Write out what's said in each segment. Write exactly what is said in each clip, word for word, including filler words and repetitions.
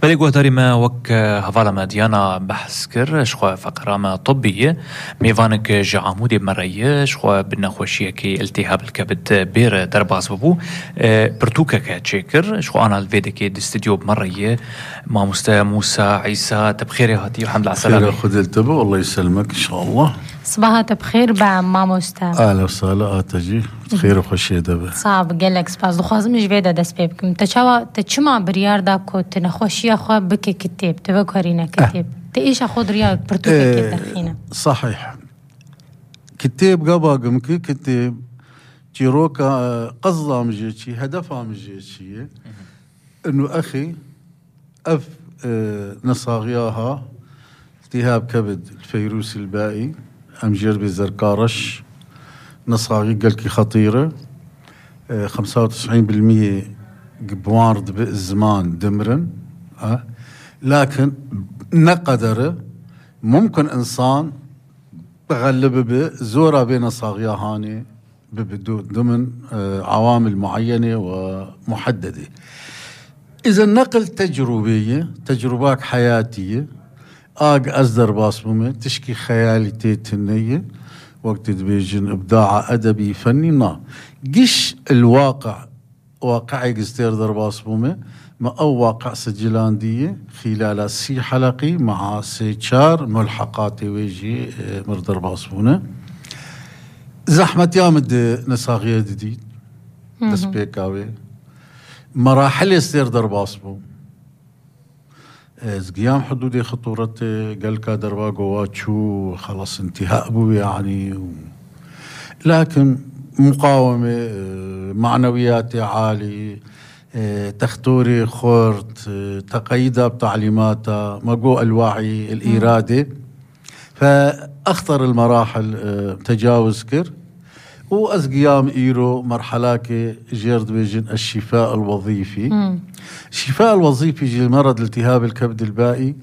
بلغ دارما وك هفالما ديانا بحث كر شخوا فقرامة طبية ميفانك جعامودي بمرأية شخوا بنخوشية كي التهاب الكبد بير درباز ببو برتوكا كاتشيكر شخوا أنا الفيديكي دستديو بمرأية ما مستا موسى عيسى تبخيري هاتي والحمد لله على السلامة. خير خذ التبو والله يسلمك إن شاء الله. صباحات بخير بعم ماما مستا. أهلا وسهلا آتجي خير وخشية دبا. صعب قالك سباس دخوازم مش فيدا دس بيبكم تشوا تشمع بريار دا كوت نخوشية خوا بكي كتاب تفكرينا كتاب أه. تإيش أخذ رياض برتوكا أه. كي دخينا. صحيح. كتاب قباقم كي كتاب جيروكا قصدا مجيتشي هدفها مجيتشي إنه أخي أف أه نصاغياها التهاب كبد الفيروس البائي أم جربي زركارش نصاغي قلكي خطيرة أه خمسة وتسعين بالمية بوارد بالزمان دمرن أه لكن نقدر ممكن إنسان بغلب بزورة بين صاغيا هاني ضمن أه عوامل معينة ومحددة. إذا نقل تجربية تجربات حياتية آج أصدر باصمة تشكي خيالي تيتنية وقت تبيجن إبداع أدبي فني نا قش الواقع واقعي قستير در باصمة ما أو واقع سجلاندية خلال سي حلقي مع سيشار ملحقات ويجي مردر باصمونة زحمة يامد نساغية جديد بس بيكاوي مراحل يستير در باصمو قيام حدود خطورة قلقا دربا قواتشو خلاص انتهاء بو يعني و... لكن مقاومة معنويات عالي تختوري خورت تقييدها بتعليماتها مقو الوعي الإرادة فأخطر المراحل تجاوز كر وأزقيام إيرو مرحلاك جيرد بيجن الشفاء الوظيفي مم. الشفاء الوظيفي جي مرض التهاب الكبد البائي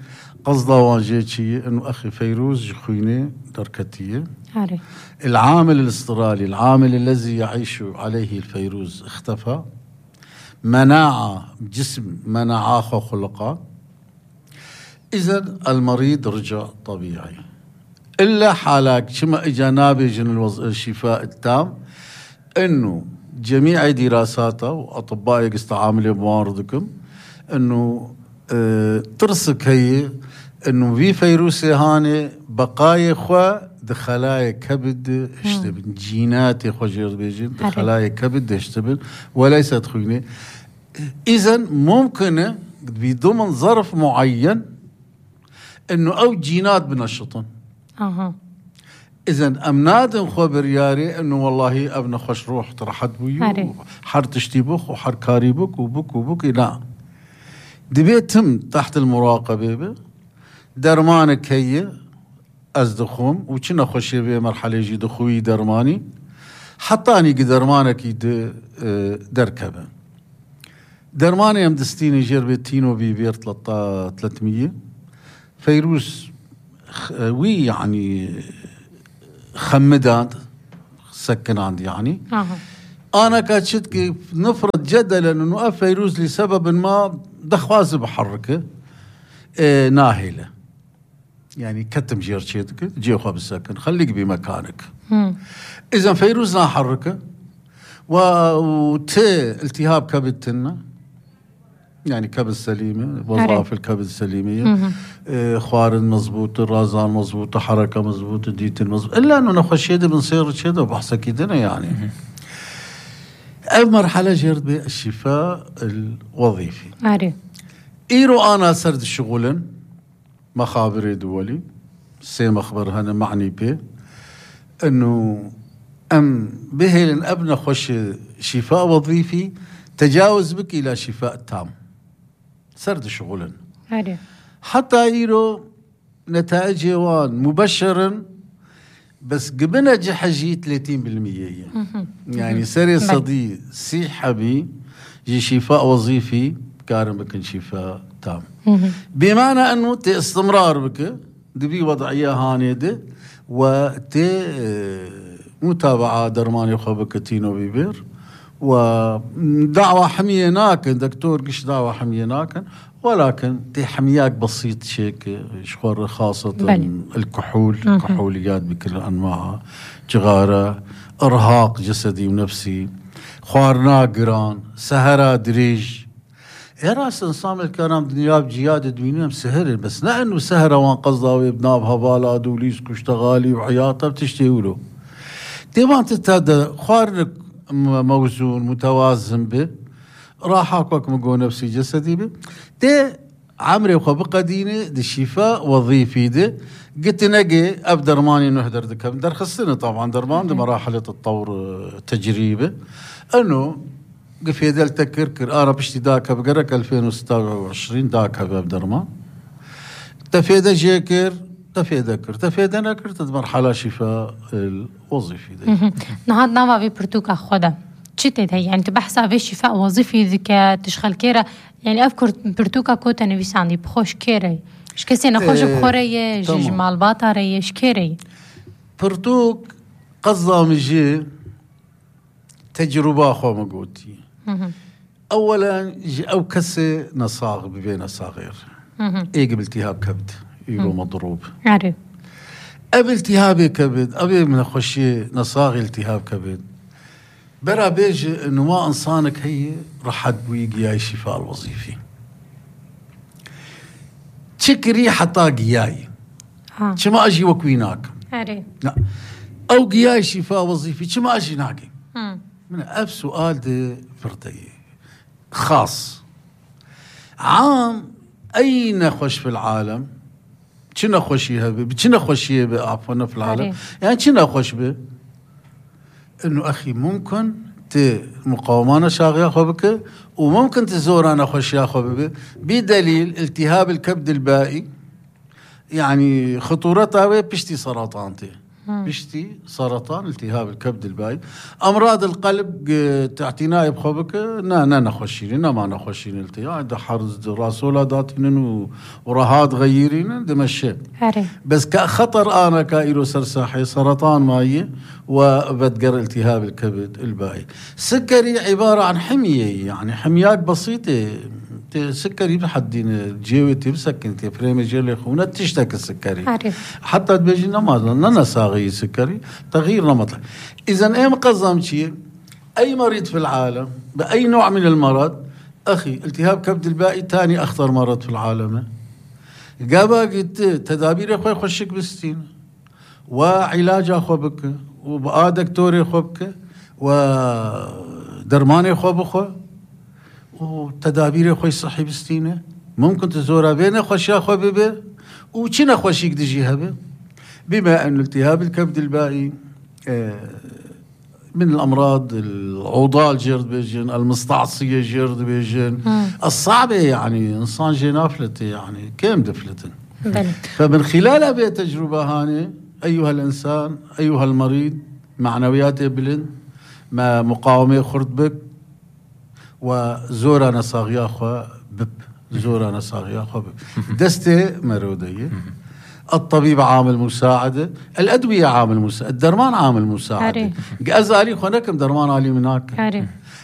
قصده واجيتشي إنه أخي فيروز جخويني دركتية عاري. العامل الاسترالي العامل الذي يعيش عليه الفيروز اختفى مناعة جسم مناعة خلقة إذن المريض رجع طبيعي إلا حالك شما إجا نابجن الوز... الشفاء التام إنه جميع دراساته وأطباء يستعاملوا بمواردكم إنه اه ترسك هي إنه في فيروس هاني بقايا خوا دخلايا كبد اشتبن جينات خوا جير بيجن دخلايا كبد اشتبن وليست خوينة إذن ممكن بضمن ظرف معين إنه أو جينات بنشطن أها إذن أمنادن خبر ياري إنه والله أبنى خوش روح ترحد بيو حر تشتيبوخ وحر كاريبوك وبوك وبوك لا دبيتم تحت المراقبة درمانك هي أزدخوم وكنا خوشي بي مرحلة جي دخوي درماني حطاني درمانك يد دركبه درماني يم دستيني جربي تينو بيبير ثلاثمية فيروس وي يعني خمدان سكن عندي يعني أه. أنا كاتشت كيف نفرض جدلا إنه فيروس لسبب ما دخواز بحركه اه ناهلة يعني كتم جيرشيتك جي خواب السكن خليك بمكانك إذا فيروس ناحركه وتي التهاب كبدتنا يعني كبد سليمة وظائف الكبد السليمية إيه خوارن مزبوطة رازان مزبوطة حركة مزبوطة ديتن مزبوطة إلا أنه نخش يدي بنصير كده وبحث كيدنا يعني أي مرحلة جرد بالشفاء الوظيفي عاري. إيرو أنا سرد الشغل مخابري دولي سي مخبر هنا معني به أنه أم بهلن أبنى خوش شفاء وظيفي تجاوز بك إلى شفاء تام سرد شغلا عاري. حتى إيرو نتائج يوان مبشرا بس قبنا جحجي ثلاثين بالمية يعني سري صدي سي حبي جي شفاء وظيفي كارم بكن شفاء تام بمعنى أنه تي استمرار بك دبي وضعية هانيدة وتي متابعة درماني خبك تينو بيبير ودعوة حمية ناكن دكتور قش دعوة حمية ناكن، ولكن تي حمياك بسيط شيك شخور خاصة بل. الكحول كحوليات بكل أنواعها، جغارة، إرهاق جسدي ونفسي، خوار ناقران، سهرة دريج. يا راس انصام الكرام دنيا بجيادة دوينهم سهر، بس لا انه سهرة وان قصداوي بنابها بالا دوليس كشتغالي وحياطة بتشتيولو ديوان تتهدى خوارنك موزون متوازن به راحاك مقو نفسي جسدي به دي عمري وخبقة ديني دي الشفاء وظيفي دي قلت نقي ابدر ماني نهدر دكم در خصني طبعا درمان دي مراحل التطور تجريبه انه قفي دل تكركر انا بشتي داكا بقرك ألفين وستة وعشرين داكا بابدرمان تفيدا جيكر تفيدا كر تفيدا نكر تدمرحلة شفاء الوظيفي دي نهاد نافا في برتوكا خدا تشتت هي يعني تبحث في شفاء وظيفي ذكاء تشغل كيرا يعني أفكر برتوكا كوتا نفيس عندي بخوش كيري إيش كسي نخوش بخورية جمال باطارية إيش كيري برتوك قصة مجي تجربة خو مقوتي أولا أو كسي نصاغ ببين صغير إيه قبل التهاب كبد يقولوا مضروب عارف قبل التهاب كبد أبي من خشي نصاغ التهاب كبد برا بيجي إنه ما إنسانك هي رح تبويق ياي الشفاء الوظيفي تشكري حتى قياي شما أجي وكويناك عارف لا أو قياي شفاء وظيفي شما أجي ناقي من أب سؤال دي فردي خاص عام أين خوش في العالم شنا خوشيها به شنا خوشيه به عفوا في العالم عريب. يعني شنا خوش به إنه أخي ممكن ت مقاومانا شاغيا خبك وممكن تزور أنا خوشيا خبك بدليل التهاب الكبد البائي يعني خطورتها بيشتي سرطانتي بيشتي سرطان التهاب الكبد الباي امراض القلب تعتناي بخبك نا نا نخشين نا ما نخشين التهاب ده حرز راسولا داتين ورهاد غيرين دمشي بس كخطر انا كايرو سرساحي سرطان ماي وبتقر التهاب الكبد الباي سكري عباره عن حميه يعني حميات بسيطه سكري بحدين الجيوتي بسكنتي فريمي جيلي خونا تشتكي السكري عارف. حتى تبيجي نماذج ننا ساغي سكري تغيير نمط. إذا أي مقزم شيء أي مريض في العالم بأي نوع من المرض أخي التهاب كبد البائي تاني أخطر مرض في العالم قابا قلت تدابير أخوي خشك بستين وعلاج أخو بك وبقى دكتوري أخو بك ودرماني أخو بخو وتدابير خوي صحي بستينه ممكن تزورها بين خوشيا خو بيبي وشنا خوشيك دجيها به بما أن التهاب الكبد البائي من الأمراض العضال جرد بيجن المستعصية جرد بيجن الصعبة يعني إنسان جنافلته يعني كم دفلته فمن خلال هذه التجربة هاني أيها الإنسان أيها المريض معنوياته بلند ما مقاومة خرد بك وزورنا صاغيا خو بب زورنا صاغيا خو بب دستة مرودية الطبيب عامل مساعدة الأدوية عامل مساعدة الدرمان عامل مساعدة أزالي خونكم درمان عالي مناك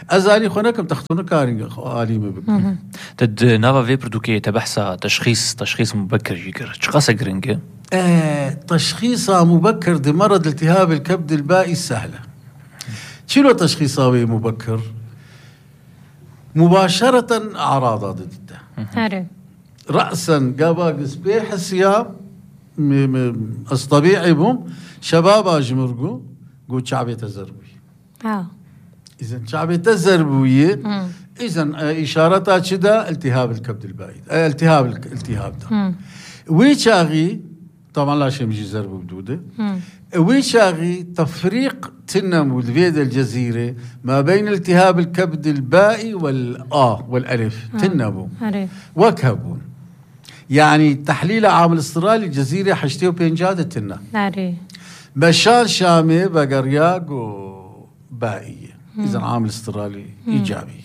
أزالي خونكم تختون كارين عالي مبك تد نافا في بردوكي تبحث تشخيص تشخيص مبكر يقر شقاسة قرنجة اه تشخيصها مبكر دي مرض التهاب الكبد البائي سهلة شنو تشخيصها مبكر مباشرة أعراض ضدها رأسا قابا سبيح السياب الطبيعي بهم شباب أجمرقو قو شعبية الزربوية آه. إذن شعبية الزربوية إذن إشارتها شدا التهاب الكبد البائي التهاب الالتهاب ده ويشاغي طبعا لا شيء مجي زربو بدودة ويشاغي تفريق تنمو الفيدة الجزيرة ما بين التهاب الكبد البائي والآ والألف تنمو وكبون يعني تحليل عامل استرالي الجزيرة حشتيو بينجادة تنا بشار شامي بقرياق وبائية إذا عامل استرالي إيجابي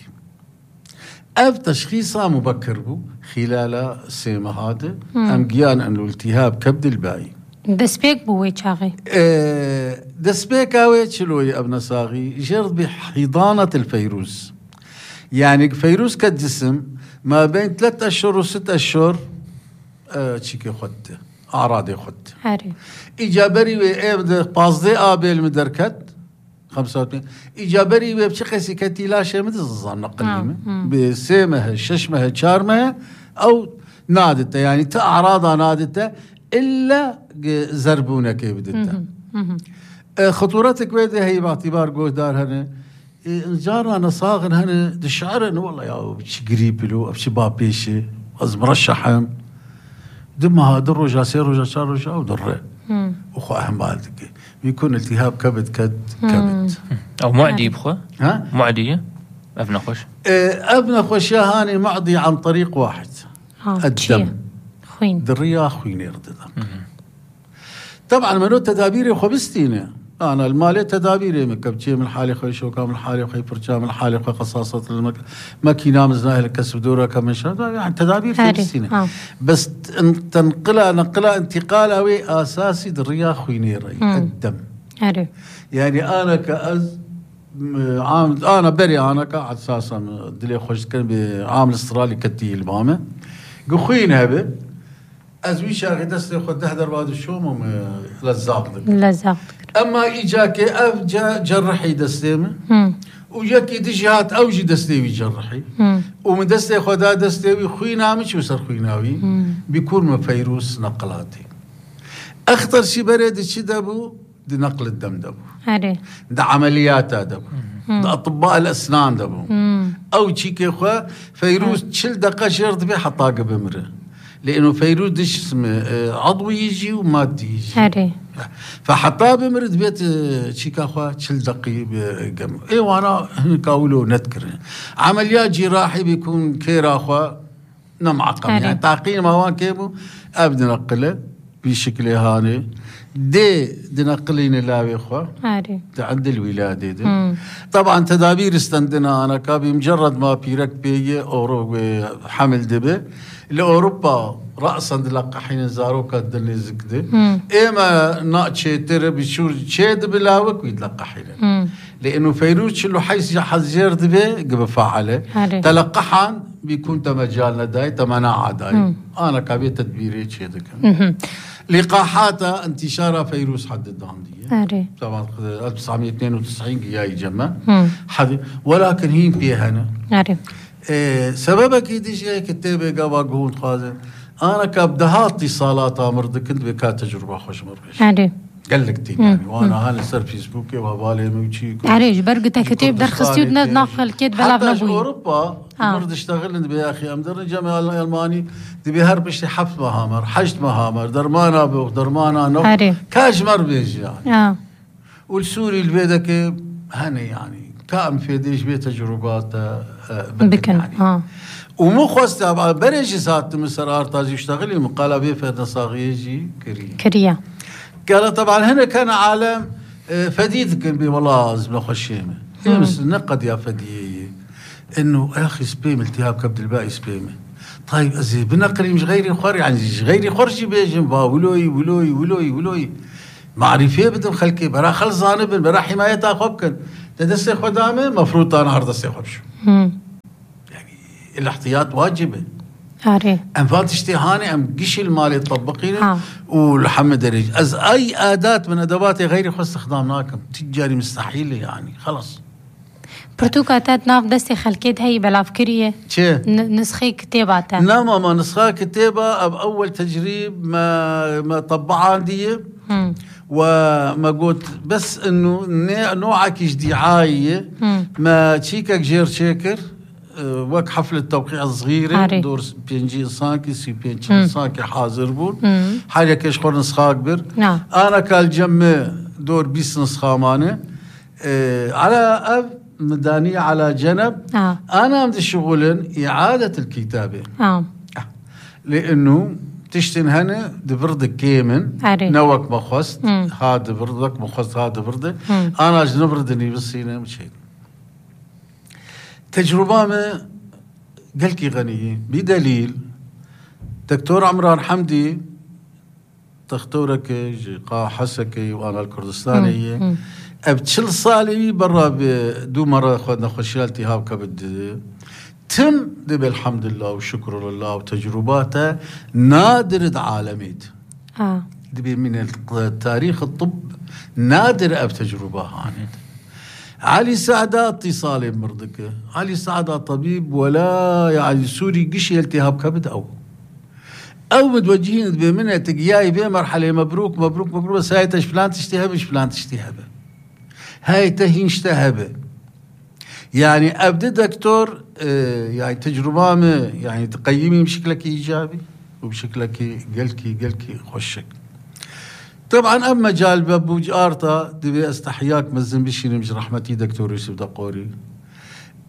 أب تشخيصها مبكر بو خلال سيما هذا أم قيان أنه التهاب كبد البائي دسبيك بوي شاغي اه دسبيك اوي شلوي ابن صاغي جرد بحضانة الفيروس. يعني فيروس كالجسم ما بين ثلاثة اشهر وست اشهر اه تشيكي خدته اعراضي خدته هاري ايجابري وي بازدي ابل مدركت خمسة وثمانين ايجابري وي بشقسي كتي لا شيء مدز نقليمه بسيمه ششمه شارمه او نادته يعني تاعراضها نادته الا زربونه كي بدته. خطورتك ويدي هي باعتبار جودار هنا جارنا نصاغن هنا دشعر انه والله يا بشي قريب له بشي بابيشي از مرشحهم دمها درجة سيرجة شارجة أو درة أخو أهم بالك بيكون التهاب كبد كد كبد أو معدي بخو ها معدية أبنى خوش اه أبنى خوش هاني معدي عن طريق واحد الدم خوين درية خوين يردد طبعا منو تدابيري خبستينه أنا المالي تدابيري مكبتشي من حالي خوي شوكا من حالي خوي فرشا من حالي خوي قصاصة المك ماكينة مزناه الكسب دورة كم شهر يعني تدابير خبستينه بس تنقلها نقلها انتقال أوي أساسي دريا خوينيري الدم هاري. يعني أنا كأز عام أنا بري أنا كعد أساسا دلي خوش كان بعام الاسترالي كتي البامة قخوين هبه أزوي شاكي دستي خد دهدر بعد الشوم لزاق لزاق أما إجاكي أف جا جرحي دستيمه وجاكي دجهات أوجي دستيوي جرحي ومن دستي خدا دستيوي خوي نامش وصر خوي ناوي بيكون ما فيروس نقلاتي أخطر شي بريد شي دابو دي نقل الدم دابو هاري ده عمليات دابو ده أطباء الأسنان دابو أو شي كيخوا فيروس تشل دقة شرط بي حطاقة بمره لأنه فيروس دش اسمه عضوي يجي ومادي يجي هاري فحطاه بمرد بيت شيكا خوا تشل دقي بقم اي وانا كاولو نذكر عمليات جراحي بيكون كيرا خوا نمعقم يعني تعقيم موان كيبو ابدا نقله بشكل هاني دي دي نقلين لاوي خوا هاري عند الولاده دي طبعا تدابير استندنا انا كابي مجرد ما بيرك بي اورو حمل دبه لأوروبا رأسا دلقحين زاروكا دلني زكده إما ناقشي ترى بشور شيد بلاوك ويتلقحين لأنه فيروس شلو حيث حزير دبي قبل فعله تلقحان بيكون تمجالنا داي تمناعة داي أنا كابي تدبيري شيدك لقاحاتها انتشارها فيروس حد الداندية طبعا ألف وتسعمية واثنين وتسعين جاي جمع ولكن هي بيهنا إيه سببك يدي كتابة قابا قهون خازن أنا كابدها اتصالات أمرد كنت بكا تجربة خوش مرش عارف قال لك تي يعني وأنا هاني صار فيسبوكي وهبالي موشي عارف برقتها كتاب در خصيود ناقل كيد بلا بنبوي حتى أوروبا مرد اشتغل انت بيا أخي أمدر جامعة الألماني دي هربش حفظ مهامر حشت مهامر درمانا بوخ درمانا نو كاش مر بيجي يعني آه. والسوري البيدك هني يعني كام في ديش بيه تجربات بكن يعني. آه. ومو خواسته بريجي ساعت مصر ارتاز يشتغل مقاله بيه في نصاغيجي كريا كريا قال طبعا هنا كان عالم فديد كان بي والله زبله خشيمه بس نقد يا فديه انه يا اخي سبيم التهاب كبد الباقي سبيمه طيب ازي بنقري مش غيري خور يعني غيري خرجي بيجي ولوي ولوي ولوي ولوي معرفيه بدهم خلكي برا خلص زانب برا حمايتها خبكن تدسي خدامه مفروض انا هرد اسي خبش يعني الاحتياط واجبه عارف ام فاتشتي هاني ام قش المالي تطبقينه ولحمد درج از اي اداه من ادواتي غير خو استخدامناكم تجاري مستحيل يعني خلص برتوكاتات ناف دستي خلكيت هي بلافكريه شي نسخي كتاباتها نعم ما نسخه كتابه باول تجريب ما ما طبعها عندي وما قلت بس انه نوعك دعايه ما تشيكك جير شاكر وك حفله توقيع صغيره دور بينجي سانكي سي بينجي سانكي حاضر بون حاجه كيش خور نسخه كبر انا كالجمع دور بيس نسخه مانه على اب مدانيه على جنب آه. انا بدي شغل اعاده الكتابه آه. لانه تشتن هنا دبردك كيمن نوك مخوست هذا بردك مخوست هذا برده انا اجنبردني بالسينما مش هيك تجربه ما قالكي غنيه بدليل دكتور عمران حمدي تختورك قا حسكي وانا الكردستانية ابتشل صالي برا بدو مرة خدنا خشيال التهاب كبد تم دبي الحمد لله والشكر لله وتجرباته نادر عالميت اه دبي من تاريخ الطب نادر اب تجربة هانت. علي سعدة اتصالي مرضك علي سعدة طبيب ولا يعني سوري قشي التهاب كبد او او متوجهين دبي منها تقياي بيه مرحلة مبروك مبروك مبروك بس هاي تش فلان تشتهب ايش فلان تشتهب هاي تهين اشتهب يعني ابدا دكتور اه يعني تجربة يعني تقيمي بشكلك ايجابي وبشكلك قلكي قلكي خوشك. طبعا اما جال بابو جارتا دبي استحياك مزن بشيني مش رحمتي دكتور يوسف دقوري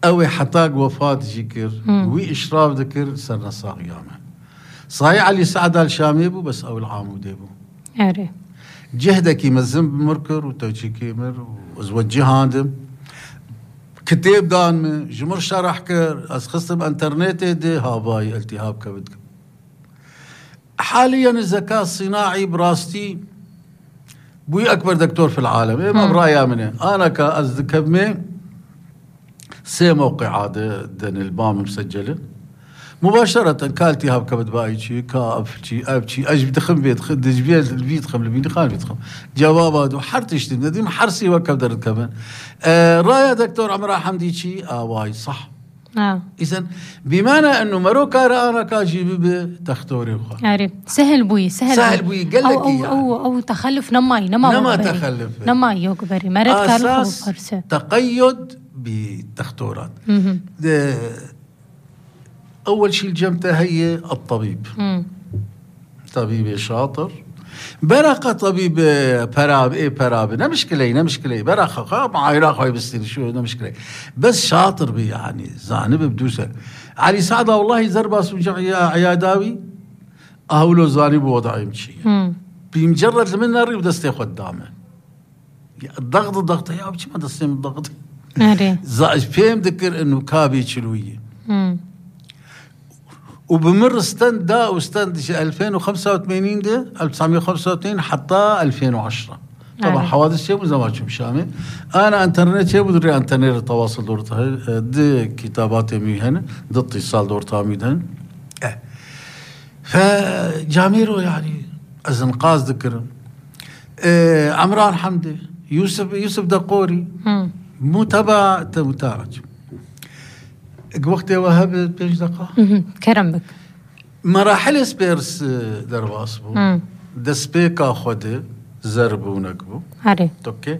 اوي حطاق وفاة جيكر وي اشراف ذكر سرنا صاغيامه صحيح علي سعد الشاميبو بس او العامودي بو اري جهدك يمزن بمركر وتوجي كيمر وزوجي هاندم كتاب دان جمر شرح كر اسخص بانترنت دي هاباي التهاب كبد. حاليا الذكاء الصناعي براستي بوي اكبر دكتور في العالم ايه ما برايا منه انا كازدكمي سي موقع هذا دن البام مسجله مباشرة كالتي هاب كبد بايشي كابشي ابشي اجب دخم بيت خد جبيل البيت خم البيت خان بيت خم جوابات وحرتش دي محرسي وكبدر كمان آه رايا دكتور عمرو حمدي شي اه واي صح اه اذا بمعنى انه مروكا رانا كاجي بتختوري عارف سهل بوي سهل, سهل بوي قال لك أو, أو, يعني. أو, أو تخلف نماي نما نما تخلف نما يوكبري مرد أساس تقيد بالتختورات. أول شيء الجمتة هي الطبيب مم. طبيب شاطر برقة طبيب براب إيه براب نمشكلة نمشكلة برقة ما عيراق هاي بستير شو نمشكلة بس شاطر بي يعني زانب بدوسة. علي سعدة والله زرباس وجع عياداوي أهولو زانب وضعي مشي بمجرد من ناري ودستي قدامه الضغط الضغط يا بشي ما دستي الضغط زاج فهم ذكر إنه كابي شلوية وبمر ستاند دا وستاند ألفين وخمسة وثمانين ده ألف وتسعمية وخمسة وثمانين حتى ألفين وعشرة طبعا حوادث شيء وزواج شامل انا انترنت شيء بدري انترنت التواصل دورتها دي كتابات ميهن دي اتصال دورتها ميهن اه فجاميرو يعني ازنقاز ذكر اه عمران حمدي يوسف يوسف دقوري مو تبع متاعج وقتها وهب بيج دقة كرمك مراحل سبيرس درباسبو دسبيكا خده زربو ونكبو هاري اوكي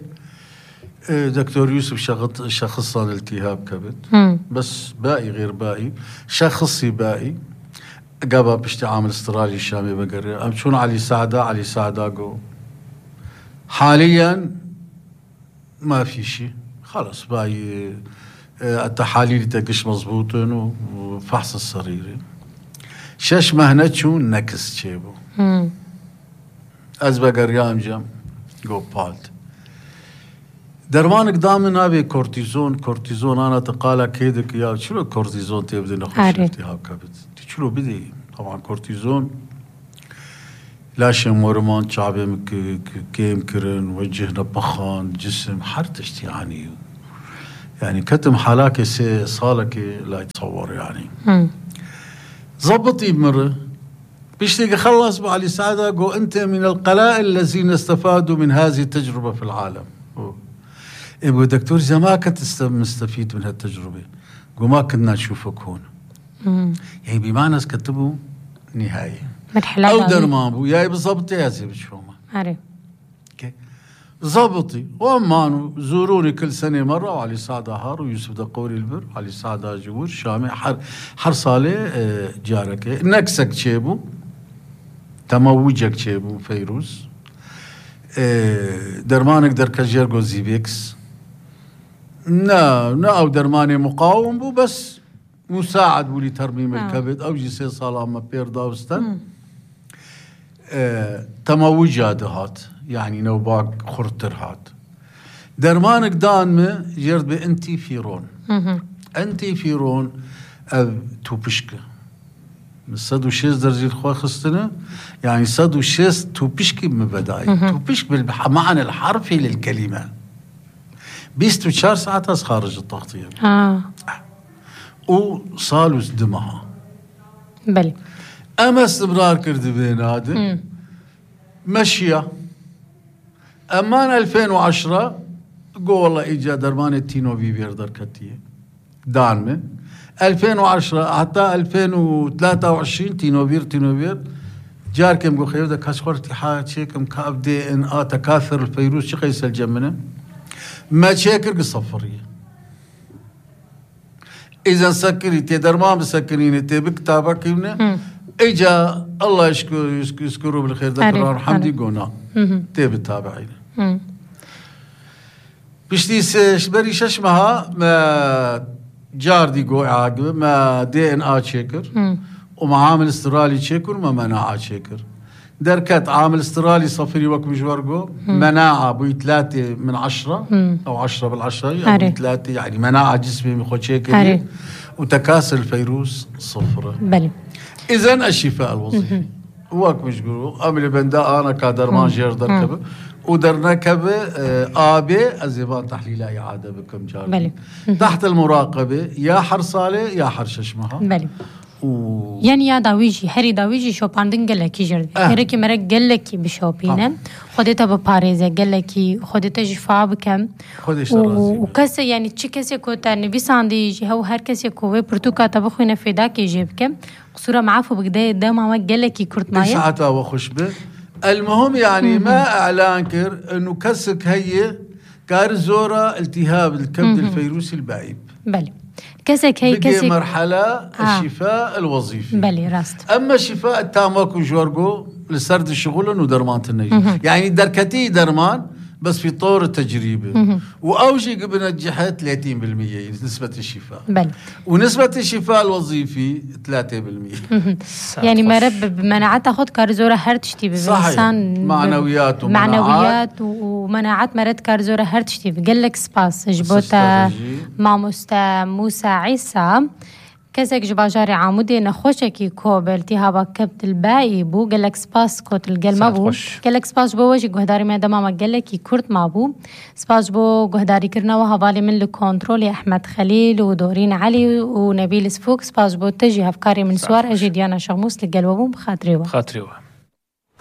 دكتور يوسف شخص شخصان التهاب كبد مم. بس باقي غير باقي شخصي باقي قابا بشتي عامل استرالي الشامي بقري ام شون علي سعدة علي سعدة جو حاليا ما في شيء خلص باقي التحاليل تقش مضبوطن وفحص السريري شش مهنتشو نكس تشيبو از بقريام جم جو بالت درمان قدام نابي كورتيزون كورتيزون انا تقالا كيدك يا شنو كورتيزون تبدي نخش التهاب كبد شنو بدي طبعا كورتيزون لاشم ورمان شعبي كيم كرن وجهنا بخان جسم حرتشت يعني يعني كتم حالاك سي صالك لا يتصور يعني زبطي بمره بيشتيق خلص بعلي سعدة قو أنت من القلائل الذين استفادوا من هذه التجربة في العالم يبقى دكتور إذا ما كنت مستفيد من هالتجربة قو ما كنا نشوفك هون يعني بمعنى كتبوا نهاية أو درمابو ياي بالضبط يا زي بتشوفه عارف زبطي وامانو زوروني كل سنة مرة وعلي سعدة هار ويوسف دقوري البر علي سعدة جور شامي حر حر صالة جارك نكسك شيبو تموجك شيبو فيروز درمانك در كجيرغو زيبيكس نا نا او درماني مقاوم بو بس مساعد بولي ترميم الكبد او جيسي صالة اما بير داوستن تموجها دهات يعني نوباك خرطر هات درمانك دانمه جرد بانتي فيرون انتي فيرون او توبشكه صد وشيست درجة الخوا خستنا يعني صد وشيست توبشكي من بداية توبشك بالمعنى الحرفي للكلمة بيست وشار ساعات خارج التغطية آه وصالوا دمها بلي أما استمرار كرد بين هذا مشية أمان ألفين وعشرة قو والله إيجا درمان التينو بيبير در كتية دانمه ألفين وعشرة حتى ألفين وثلاثة وعشرين تينوبير تينوبير جار كم قو خيو دا كاسخورتي حاجة شيكم كاب دي ان آ تكاثر الفيروس شي قيس الجمنة ما شاكر قصفرية إذا سكري تي درمان بسكرين تي بكتابك يمنا إجا الله يشكر يذكره بالخير ذكران حمدي قونا تي بتابعين بشتي شبري ششمها ما جار دي قوي عاقبه ما دي ان آ تشيكر وما عامل استرالي تشيكر وما مناعة تشيكر دركت عامل استرالي صفري وك مجورقو مناعة بوي ثلاثة من عشرة أو عشرة بالعشرة أو ثلاثة يعني مناعة جسمي مخو تشيكر وتكاسل الفيروس صفر بلي إذن الشفاء الوظيفي وك مجورقو أملي بندا أنا كادرمان جير دركبه ودرنكبه آبي الزبان تحليل إعادة بكم جاري تحت المراقبة يا حرصالة يا حرششمها بلي و... يعني يا داويجي هري داويجي شوباندن قلكي جرد آه. هركي مرق قلكي بشوبينه خودتا بباريزة قلكي خودتا جفا بكم خودش و... رازي وكسي يعني تشي كسي كوتا نبي ساندي جي هو هر كسي كوه برتوكا تبخونا في داكي جيبكم قصورة معافو بقداية داما ما قلكي كرت مايا ساعتها وخش به المهم يعني ما اعلان كر انه كسك هي كار زورة التهاب الكبد الفيروسي البعيب بلي كسك هي بقي كسك مرحلة آه. الشفاء الوظيفي بلي راست اما الشفاء التامك وجورجو لسرد الشغل انه درمان النجم يعني دركتي درمان بس في طور التجريبة واوجي قبل نجحت ثلاثين بالمية نسبة الشفاء بلي ونسبة الشفاء الوظيفي ثلاثة بالمية يعني مرب بمناعات خد كارزورة هرتشتي بإنسان معنويات ومناعات معنويات ومناعات مرد كارزورة هرتشتي بقلك سباس جبوتا ماموستا موسى عيسى كسك جباجاري عامودي نخوشكي كوب التهابا كبد الباقي بو قالك سباس كوت القل ما بو قالك سباس بو وجه قهداري ما دماما قالك كورت ما بو سباس بو قهداري كرنا وهبالي من الكونترول أحمد خليل ودورين علي ونبيل سفوك سباس بو تجي هفكاري من سوار أجي ديانا شغموس لقل وبو بخاطريوه خاطريوه